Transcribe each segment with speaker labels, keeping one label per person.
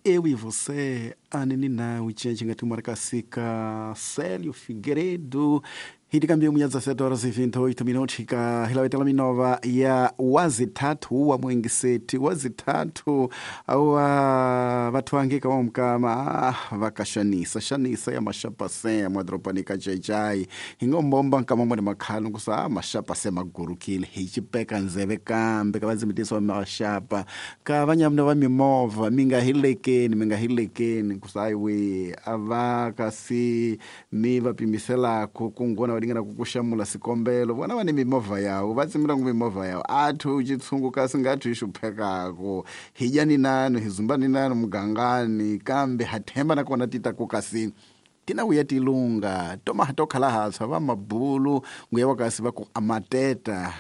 Speaker 1: Eu e Você, Anini Nawi, cece nga tumara kasika Célio Figueiredo. Hitikambia munya 17 horas e 28 minutos ka hilawetela minova ya wazithathu wa mwengiseti wazithathu wa vathu angika wa mukama vakashanisa shanisa ya mashapase ya mwadropani kacecai hingombomba nkama mwene makhalo nkusa mashapase magurukile hichipeka nzeve kambe ka vazimitiso wa mashapa ka vanyamuna va mimovha mingahilekeni mingahilekeni nkusa aiwe ava kasi mi va pimiselako kungona valingana kukuxamula sikombelo vona va ni mimovha yawo va tsimela ngu mimovha yawo athu chitshungu kasi ngathu hi xuphekako hi dyani nanu hi zumbani nanu mugangani kambe ha themba nakona ti ta ku kasi tina vuya tilunga toma ha to khala hatshwa va mabulu nguya wa kasi va ku amateta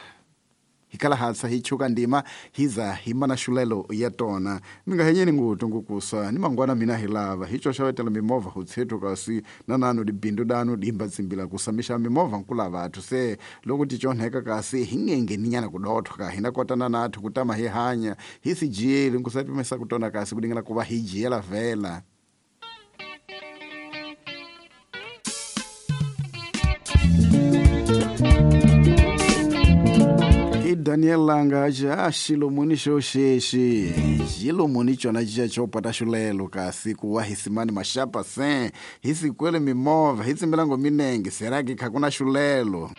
Speaker 1: hikala hatsa hi chuka ndima hiza himana xulelo ya tona mi nga henyeni ngutu ngukusa ni mangwana mina hi lava hi xoxavetela mimovha hutshethu kasi na nanu dibindu danu dimba tsimbila kusamisha mimovha nkula vathu se loko ti chonheka kasi hi ngengeninyana kudothwa ka hina kotana nathu kutama hi hanya hi si jiyeli nkusa pimesa kutona kasi kudingela kuva hi jiyela vhela. Daniel Langa ja xilomuni xo xexi xilomuni cona cica xo pata xulelo kasi ku wa hisimani maxapa se hi sikwele mimovha hi tsimbelango minenge seraki kha ku na xulelo.